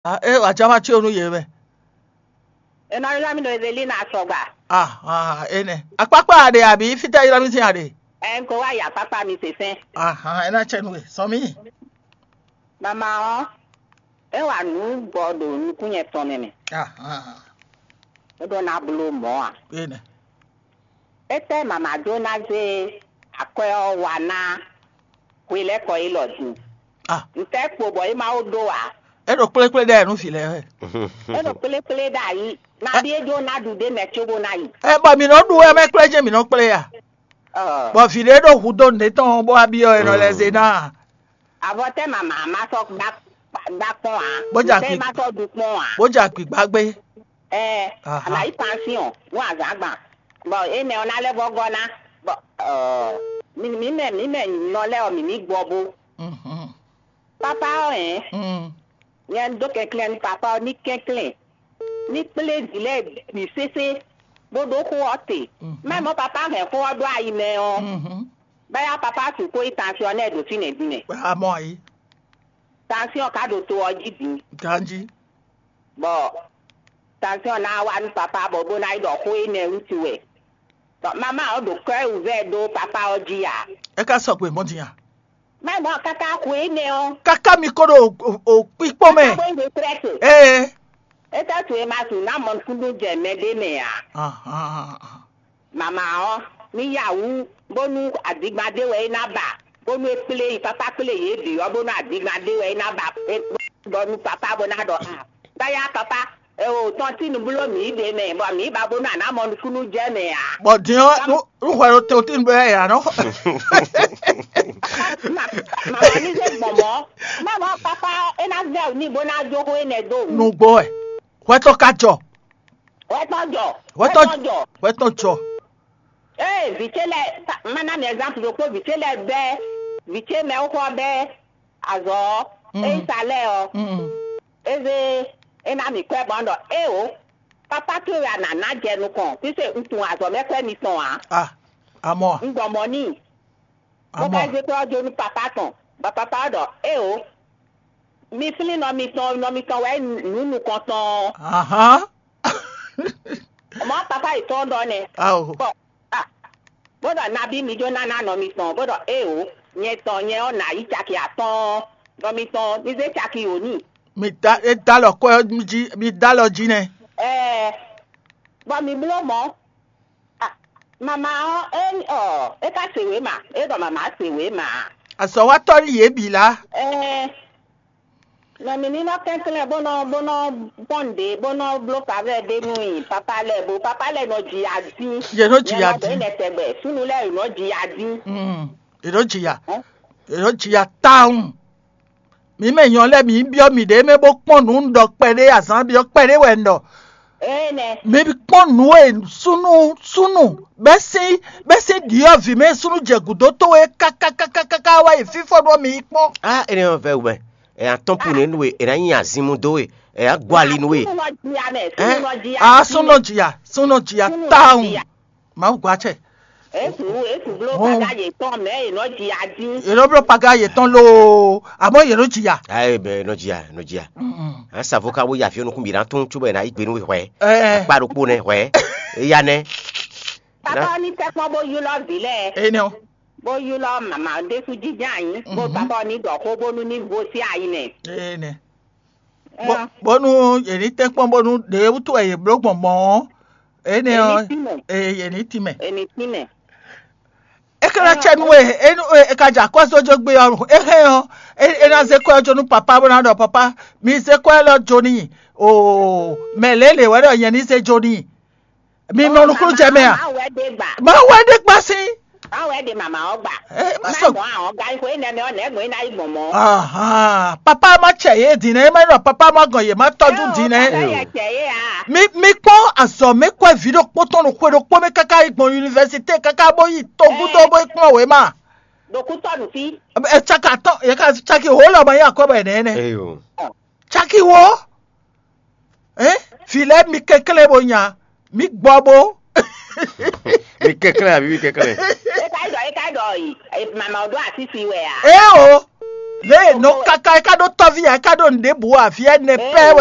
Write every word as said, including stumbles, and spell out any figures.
Ah, é wǎ ján ma cí o nú yě mɛ. Enɔ ylɔ́ mì ɖo Evelina Asɔgba. Ah, ah, énɛ́. Akpákpá a ɖe abǐ fítɛ́ ylɔ́ mì sín a ɖe? Ɛ n ko wá yi akpákpá mi sesɛn. Ah, ah, é ná cɛ nú we. Sɔ mì. Mama ɔ́, é wa nǔ bɔ ɖo nukún nyɛ tɔn mɛ mɛ. Ah, ah, É ɖó ná bló mɔ̌ a? énɛ́. Étɛ́ mama ɖó ná zé akwɛ́ ɔ́ wa ná hwelɛ́kɔ élɔ́ din? Ah, Ntɛ́ kpo bɔ é ma ó ɖó ǎ. é ɖo kplékplé ɖɛ nú vǐ lɛ́ɛ wɛ. É ɖo kplékplé ɖ'ayǐ. Nabí é ɖó ná ɖu ɖé mɛ cóbó ná yi. Ɛ bɔ mǐ nɔ ɖu wɛ mɛ kplé jɛ́n mǐ nɔ kplé ya. Ɔ, Bɔ vǐ ɖé ɖo hudó nǔɖé tɔn bó wá byɔ́ è nɔ lɛ́ zé ná. Avɔ tɛ́ mama ma sɔ́ gbá gbá kpɔ́n ǎ. Bó jà Tɛ́ kpi- ma sɔ́ ɖu kpɔ́n ǎ. Bó jɛ akpǐgbá gbé. Ɛ, Aha. Alayi pansiɔn nú azǎn gban. Bɔ énɛ́ ɔ́ ná lɛ́ vɔ́ gɔ́ ná. Bɔ ɔ, mǐ mǐ mɛ mǐ mɛ nɔ lɛ́ɛ ɔ́ mǐ ní gbɔ bó. Mhm, Pápá ɔ́ hɛn mhm. nyɛ un dó kɛnklɛ́n nú pápá ɔ́ ní kɛnklɛ́n ní kplé vǐ lɛ́ɛ bǐ sésé bó ɖó xó ɔ́ te. Mhm. Mɛ mɔ̌ pápá hɛn xó ɔ́ ɖó ayi mɛ ɔ́, Mhm. báyá pápá sixú yi tansiɔn nɛ́ ɖo fínɛ́ din mɛ. Amɔ ayi. Tansiɔn ka ɖo to ɔ́ jí din. Ganji. Bɔ tansiɔn ná wá nú pápá bɔ bó ná yi ɖɔ xó énɛ́ wútu wɛ. Bɔ mamá ɔ́ ɖo kɔ́ wǔvɛ́ ɖó pápá ɔ́ jí ǎ. É ka sɔgbe mɔ̌ din a? Mɛ mɔ̌ káká xó énɛ́ ɔ́. Káká mi kó ɖo o- o kpíkpó mɛ. Bó yi ɖe prɛ́sì. Ee. É ka tu e ma su ná mɔ nukúnnú jɛ mɛ ɖé mɛ ǎ. Ahan. Mama ɔ́, ní yá wú bónú adigba ɖé wɛ é ná ba, bónú é kplé yi pápá kplé yě bǐ ɔ́, bónú adigba ɖé wɛ é ná ba, é bɔ nú papá bó ná ɖɔ a, báyá papá, ɛ o tɔn tí nu bló mǐ ɖe mɛ, bɔ mǐ ba bónú a ná mɔ nukúnnú jɛ mɛ ǎ. Bɔ din ɔ́, nú nú hwɛ ɖo te o tín bɛ ɛ ǎ nɔ. Mama ní zé gbɔn mɔ̌, mama papá é ná vɛ ní bó ná jó xó énɛ́ dó wǔ. Nugbo ɛ. Hwɛ tɔn ka jɔ. Wɛ tɔn jɔ. Hwɛ tɔn jɔ. Hwɛ tɔn jɔ. Ee, vǐ ce lɛ́ɛ, ma ná mi ɛzanpu ɖokpó, vǐ ce lɛ́ɛ bɛ́, vǐ ce mɛ xó ɔ́ bɛ́ azɔ̌ ɔ́, Mm. é yi sa lɛ́ɛ ɔ́, Mm. é zé é ná mi kwɛ́ bɔ ɖɔ éeǒ, pápá towe wɛ a nǎ ná jɛ nukɔn, físe un tunwun azɔ̌ mɛ kwɛ́ mitɔn ǎ. Ah, amɔ. Un gbɔ mɔ̌ n'i, bó Amɔ. ka zé kwɛ́ ɔ́ jó nú papá tɔn, bɔ papá ɔ́ ɖɔ éeǒ, mi flín nɔ mitɔn, nɔ mitɔn wɛ nǔ nukɔntɔn ɔ́. Ahan. Mɔ̌ papá yětɔn ɖɔ nɛ́. Ao. Bɔ ah, bó ɖɔ nabí mi jó ná ná nɔ mitɔn, bó ɖɔ éeǒ, nyɛ tɔn nyɛ ɔ́ nǎ yí caki atɔ́ɔ́n, nɔ mitɔn mi zé caki wǒ n'i. Mi da e da lɔ kɔ jí mi da lɔ jí nɛ. Ɛɛ, bɔ mi bló mɔ̌. Ah, mama ɔ́, é ɔ, é ka se wěma, é ɖɔ mama se wěma. Azɔ̌watɔ́ ní yě bǐ lá. Ɛɛ, nɔ mi ní nɔ kɛnklɛ́n bó nɔ bó nɔ pɔn ɖě bó nɔ bló favɛ ɖé nú i papa lɛ́ɛ bó papa lɛ́ɛ nɔ ji adín. Yě nɔ ji adín. Nɛ tɛgbɛ súnnu lɛ́ɛ nɔ ji adín. Mm, yě nɔ ji ya. Hɛn? Yě nɔ ji ya tawun. Mǐ mɛ nyɔ lɛ́ɛ mǐ byɔ́ mǐɖée mɛ bó kpɔ́n nǔ un ɖɔ kpɛɖé azǎn byɔ́ kpɛɖé wɛ un ɖɔ. Ee nɛ. Mǐ kpɔ́n nǔ e súnnu súnnu bɛ́ sín bɛ́ sín ɖyɔ̌vǐ mɛ súnnu jɛ gǔdo towe kákákákáká wá yi fífɔ ɖó mǐ yi kpɔ́n. Ah, ene ɔ́ vɛ wumɛ. E atɔn pu ne nue, e na nyi azinmu dó e, e na gbɔ ali nue. Súnnu nɔ ji ya mɛ, Hɛn? súnnu nɔ ji ya. A súnnu jìyà súnnu jìyà Súnnu tawun. jìyà. Màá gba tsɛ. Esu esu blo Oh. kaka yě tɔn mɛ yě nɔ ji adín. Yě nɔ bló paga yětɔn loo, àmọ́ yě nɔ jìyà. Ayi bɛ nɔ jia nɔ jia. Mm. An savo ka wo yi afi onukun bi na tún tso bɛ na yi gbe nu hwɛ. Ɛ Akpa ɖokpo nɛ hwɛ. Eya nɛ. Papa ni tɛ kpɔn bó ylɔ vi lɛ, ɛ nɛ o. Bó ylɔ mama ɖésú jijɛ anyi, bó Mhm. papa ni ɖɔ xó bónú ní vo sí ayi nɛ. Ɛ nɛ. Ɛn, Bɔnu yě ní tɛ́ kpɔ́n bónú ɖě wútu wɛ yě bló gbɔn mɔ̌. Ɛ nɛ ɔ. Èyí tì mɛ. Ɛ yě ní tì mɛ. Èmi tì mɛ. É ka ná cɛ nú we, é nú e ka jɛ akɔ́ só jó gbé ɔ́, é hɛn ɔ́, é é ná zé kɔ́ ɛ jó nú papá bó ná ɖɔ papá, mi zé kɔ́ ɛ lɔ jó n'i. Oo, mɛ lě lě wɛ ɖɔ nyɛ ní zé jó n'i. Mi nɔ nukúnnú jɛ mɛ a? Má wɛ dé gbà. Má wɛ ɖé kpá sí. Má wɛ dé màmá ɔ́ gbà. Ɛ má Má sɔ. Mɔ àwọn gáyé fún énɛ́ mɛ ɔ́ nɛ́ gbɔn é ná yi gbɔn mɔ̌. Ahan, papá má cɛ yé din ɛ má ɖɔ papá má gɔn yě má tɔjú din ɛ. Ɛ yɛ cɛ yé a. Mi mi kpɔ́n azɔ̌ mɛ kɔ́ vǐ ɖokpó tɔn ɖo xwe ɖokpó mɛ káká yi gbɔn yunivɛsité káká bó yi togúdó bó yi kplɔ́n wě ma. Ɖokútɔ nù fí. Ɛ caki atɔn yɛ ka caki wǒ lɔ ma yi akɔ́ bɔ yɛ nɛ́ nɛ́. Eyo. Caki wǒ. Ɛ fi lɛ mi kɛnklɛ́n bo nya mi gbɔ bo. Mi kɛnklɛ́n abi mi kɛnklɛ́n. É ka yi ɖɔ é ka yi ɖɔ yi. Màmá ɔ́ ɖó àsísi wɛ a. Ɛ o. Lě e nɔ káká é ká ɖó tɔ́ví ǎ, é ká ɖó nǔɖé bǔ ǎ, vǐ ɛnɛ pɛ́